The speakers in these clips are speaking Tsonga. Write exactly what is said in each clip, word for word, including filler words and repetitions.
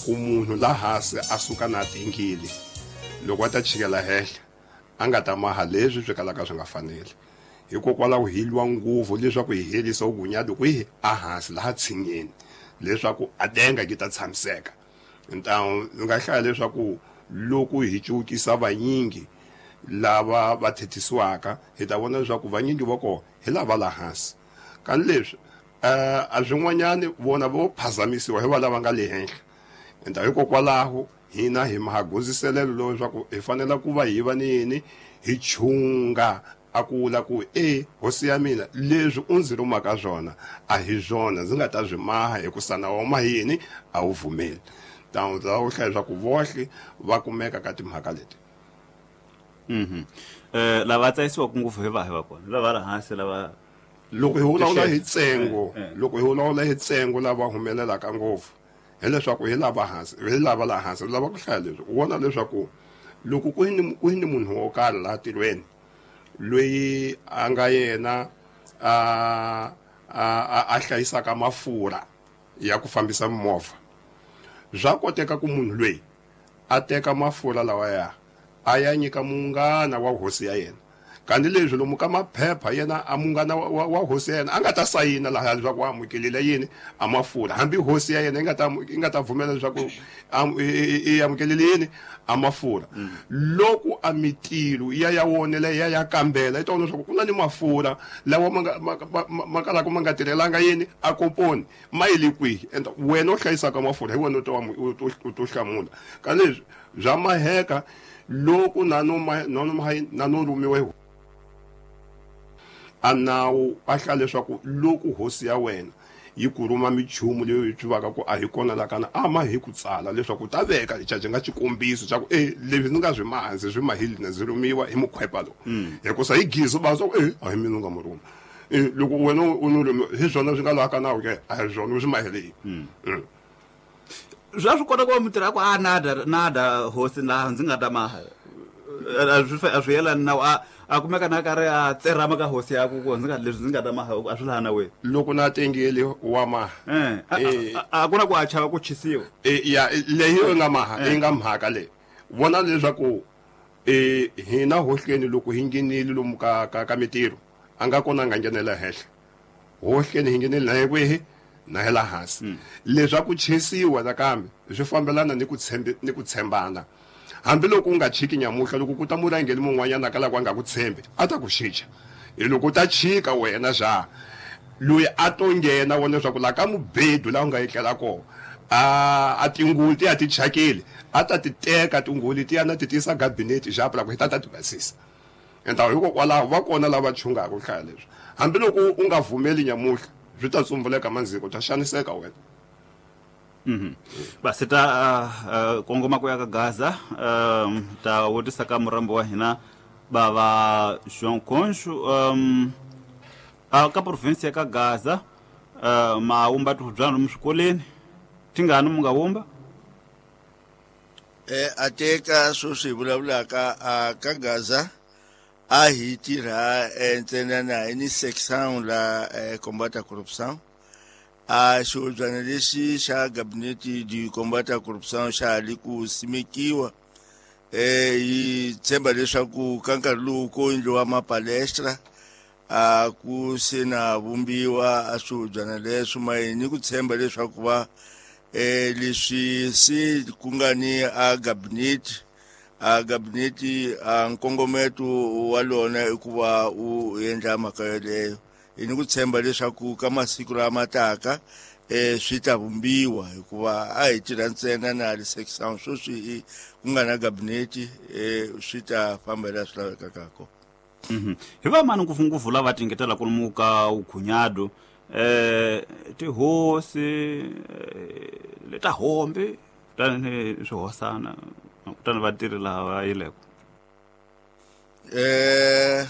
Ku munhu la hansi a suka na tingile loko a ta chikela henhla a nga ta maha leswi swi kalaka swi nga faneli. Hikokwalaho hi lwa ngopfu leswaku hi herisa vugunyadi kwihi a hansi laha tshinyeni leswaku a denga ki ta tshamiseka. Ntawu ndzi nga hlaya leswaku loko hi cukisa vanyingi lava va thethisiwaka hi ta vona leswaku vanyingi va kona hi lava la hansi. Kani leswi a swin'wanyani vona vo phazamisiwa hi va lava nga le henhla. Enta hikokwalaho hina hi mahagoziselelo lowu leswaku hi fanele ku va hi va ni yini hi chunga a ku vula ku e hosi ya mina leswi u ndzi rhumaka swona a hi swona ndzi nga ta swi maha hikusa nawu wa mahini a wu pfumeli. Tano ta ku hlaya leswaku vohle va kumeka ka timhaka leti. Mhm. Eh lava tsayisiwaka ngopfu hi vahi va kona lava la hansi lava loko hi vulavula hi ntsengo loko hi vulavula hi ntsengo lava humelelaka ngopfu hileswaku hi lava hansi hi lava la hansi lava ku hlaya leswi u vona leswaku loko ku ni ku ni munhu wo karhi laha tirhweni loyi a nga yena a a a hlayisaka mafurha ya ku fambisa movha swa koteka ku munhu loyi a teka mafurha lawa ya a ya nyika munghana wa hosi ya yena. Kanti leswi lomu ka maphepha yena a munghana wa, wa hosi ya yena a nga ta sayina laha leswaku wa amukelile yini a mafurha hambi hosi ya yena yi nga ta yi nga ta pfumela leswaku i amukelile yini a mafurha. Loko a mitilo ya ya wonela ya ya kambela yi ta vona leswaku ku na ni mafurha lawa ma nga ma kalaka ma nga tirhelanga yini a komponi ma yi le kwihi and wena u hlayisaka mafurha hi wena u ta u to hlamula. Ka leswi bya maheka loko na no na no na no rhumiwa a nawu a hlaya leswaku loko hosi ya wena yi ku rhuma minchumu leyi yi tivaka ku a hi kona la kana a ma hi ku tsala leswaku ta veka lexi nga xikombiso xa ku e leswi ndzi nga swi maha ndzi swi mahile na ndzi rhumiwa hi mukhwepa lowu hikusa hi gizo va swa ku e a hi mina u nga mu rhuma e loko wena u no rhumiwa hi swona swi nga laha ka nawu ke a hi swona u swi mahele yini. Swa swi kota ku va mutirhi a ku a nada nada hosi laha ndzi nga ta maha a swi a swi yelani nawu a a kumeka na karhi a tserhama ka hosi ya ku ku ndzi nga leswi ndzi nga ta maha a swi laha nawini loko na tengile wa maha eh a ku na ku a chava ku chisiwa e ya leyi yi nga maha yi nga mhaka leyi vona leswaku e hina hohleni loko hi nghenile lomu ka ka ka mitirho a nga kona a nga nghenela henhla hohleni hi nghenile na hi kwihi na hi la hansi leswaku chisiwa nakambe swi fambelana ni ku tshembi ni ku tshembana. Hambiloko u nga chiki nyamuhla loko ku ta murhangeri mun'wanyana ka la ku a nga ku tshembi a ta ku xicha hi loko u ta chika wena xa loyi a to nghena vona leswaku laha ka mubedu laha u nga etlela kona a a tingulu ti ya ti chakile a ta ti teka tingulu ti ya na ti tisa gabinete xa la ku hi ta ta ti basisa. Enta hikokwalaho va kona lava chungaka ku hlaya leswi hambiloko u nga vumeli nyamuhla swi ta tsumbuleka mandziko u ta xaniseka wena. Mhm. Basi ta uh, kongoma ku ya ka Gaza um ta vutisa ka murambo wa hina bava João Concho um a ka province ya ka Gaza uh, ma wumba tihubyana lomu swikolweni tingani mu nga wumba eh ateka sweswi hi vulavulaka a ka Gaza a hi tirha ntsena na hi ni section la combat à corruption a xihobyana lexi xa gabinete di combat à corruption xa ha li ku simekiwa eh hi tshemba leswaku ka nkarhi lowu ko endliwa mapalestra a ku se na vumbiwa a swihobyana leswo ma hi ni ku tshemba leswaku va eh leswi se ku nga ni a gabinete a gabinete a nkongometo wa lona i ku va u endla mhaka yeleyo. Hi ni ku tshemba leswaku ka masiku lama taka eh swi ta vumbiwa hikuva a hi tirha ntsena na le section sweswi ku nga na gabinete eh swi ta famba laha swi lavekaka kona. Mhm. Hi va mani ngopfungopfu lava tingetelaka lomu ka vukhunyado eh tihosi leta hombe kutani ni swihosana kutani vatirhi lava va yileko eh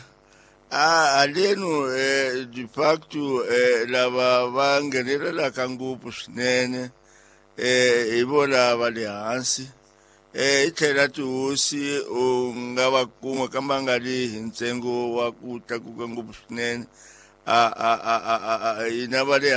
a aleno eh de facto eh lava va nghenelelaka ngopfu swinene eh hi vona va le hansi eh hi tlhela tihosi u nga va kuma kambe a nga ri hi ntsengo wa ku tlakuka ngopfu swinene a a a a hina va le